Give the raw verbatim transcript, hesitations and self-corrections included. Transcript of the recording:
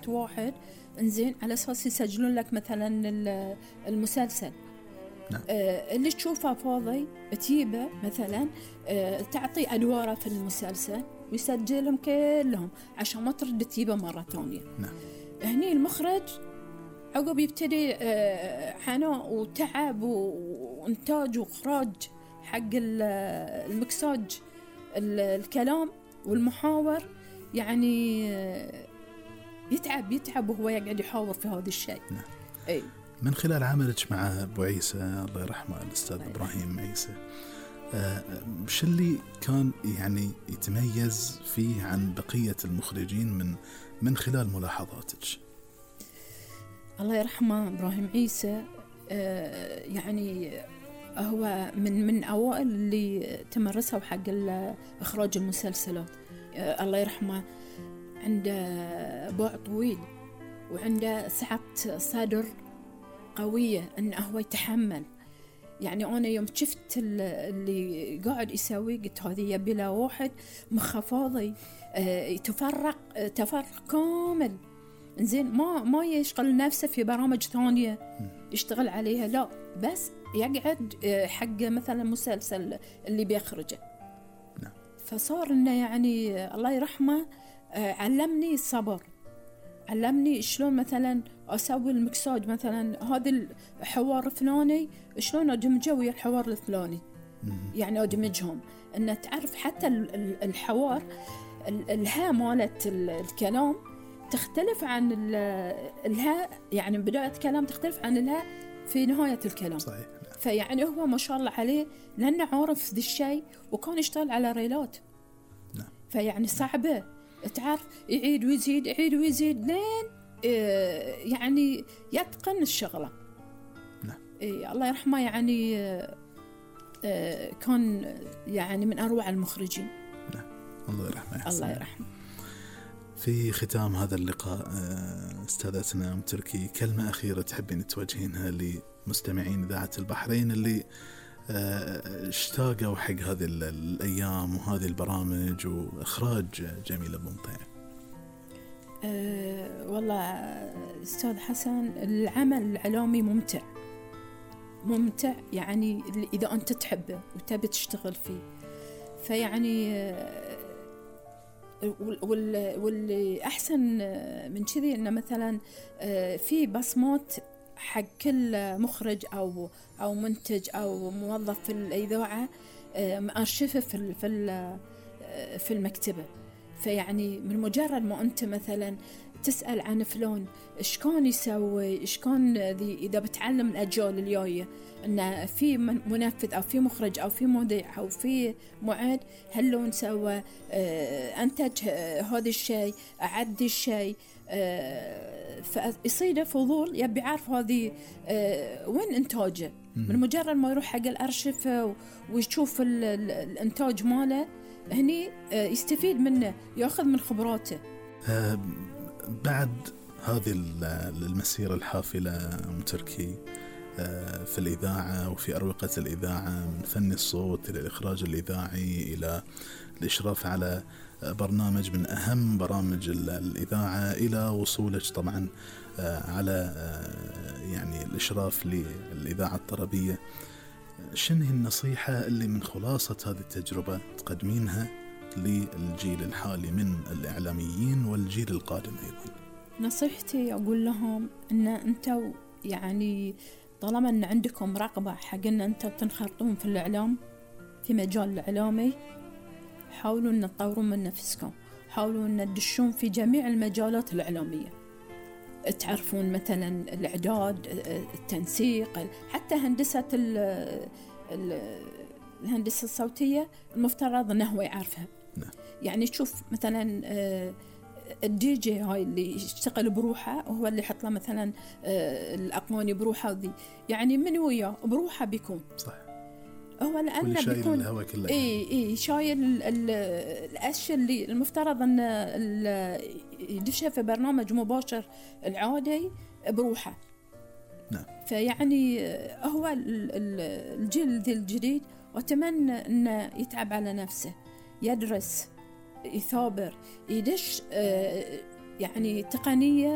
وقت واحد إنزين على أساس يسجلون لك مثلا المسلسل. نعم. آه اللي تشوفه فاضي تجيبه مثلا آه تعطي أدواره في المسلسل ويسجلهم كلهم عشان ما ترد تجيبه مرة ثانية. نعم. هني المخرج عقب يبتدي آه عناء وتعب وإنتاج وإخراج حق المكساج الكلام والمحاور، يعني آه يتعب يتعب وهو يقعد يحاور في هذا الشيء. نعم. أي. من خلال عملك مع أبو عيسى الله يرحمه الأستاذ إبراهيم عيسى، آه وش اللي كان يعني يتميز فيه عن بقية المخرجين من من خلال ملاحظاتك؟ الله يرحمه إبراهيم عيسى آه يعني هو من من أوائل اللي تمرسوا حق إخراج المسلسلات. آه الله يرحمه عنده باع طويل وعنده سعة صدر قوية إنه هو يتحمل. يعني أنا يوم شفت اللي قاعد يسوي قلت هذه يبي له واحد مخه فاضي آه يتفرق آه تفرق كامل إنزين ما ما يشغل نفسه في برامج ثانية يشتغل عليها، لا بس يقعد آه حق مثلا مسلسل اللي بيخرجه. نعم. فصار إنه يعني الله يرحمه آه علمني الصبر، علمني شلون مثلا أسوي المكساج مثلا هذا الحوار الفلاني شلون أدمجه ويا الحوار الفلاني. يعني أدمجهم إن تعرف حتى الحوار الها مالت الكلام تختلف عن الها، يعني بداية كلام تختلف عن الها في نهاية الكلام. صحيح. فيعني هو ما شاء الله عليه لأنه عارف ذي الشيء وكان يشتغل على ريلات. نعم. فيعني صعبة تعرف يعيد ويزيد يعيد ويزيد لين آه يعني يتقن الشغلة. نعم. إيه الله يرحمه يعني آه كان يعني من أروع المخرجين. نعم. الله يرحمه. الله يرحمه. في ختام هذا اللقاء استاذتنا أم تركي كلمة أخيرة تحبين توجهينها لمستمعين إذاعة البحرين اللي اشتاقوا حق هذه الأيام وهذه البرامج وإخراج جميلة بمطيع؟ أه والله أستاذ حسن العمل الإعلامي ممتع ممتع يعني إذا أنت تحبه وتبي تشتغل فيه. فيعني واللي أحسن من كذي إنه مثلا في بصمات حق كل مخرج أو أو منتج أو موظف في الإذاعة مأرشفه في في في المكتبة. فيعني من مجرد ما أنت مثلا تسأل عن فلان إيش كان يسوي إيش كان إذا بتعلم الأجيال الجاية إن في منفذ أو في مخرج أو في مذيع أو في معد هلون سوى أنتج هذا الشيء أعد الشيء فيصيده فضول يبي يعرف هذه وين إنتاجه. من مجرد ما يروح حق الأرشيف ويشوف الإنتاج ماله هني يستفيد منه يأخذ من خبراته. أه بعد هذه المسيرة الحافلة أم تركي في الإذاعة وفي أروقة الإذاعة من فن الصوت إلى الإخراج الإذاعي إلى الإشراف على برنامج من أهم برامج الإذاعة إلى وصولك طبعا على يعني الإشراف للإذاعة الطربية، شنو النصيحة اللي من خلاصة هذه التجربة تقدمينها للجيل الحالي من الإعلاميين والجيل القادم أيضا؟ نصيحتي أقول لهم أن أنتوا يعني طالما أن عندكم رغبة حق أن أنتوا تنخرطون في الإعلام في مجال الإعلامي حاولوا أن تطورون من نفسكم، حاولوا أن تدشون في جميع المجالات الإعلامية، تعرفون مثلا الإعداد التنسيق حتى هندسة الهندسة الصوتية المفترض أنه هو يعرفها. نعم. يعني تشوف مثلا الدي جي هاي اللي يشتغل بروحه وهو اللي يحط له مثلا الأغاني بروحه ذي يعني من وياه بروحه بيكون صح هو لأنه بيكون إيه إيه شايل الأشياء اللي المفترض أن يدشها في برنامج مباشر العادي بروحه. نعم. فيعني هو الجيل الجديد وأتمنى أنه يتعب على نفسه يدرس يثابر يدش يعني تقنية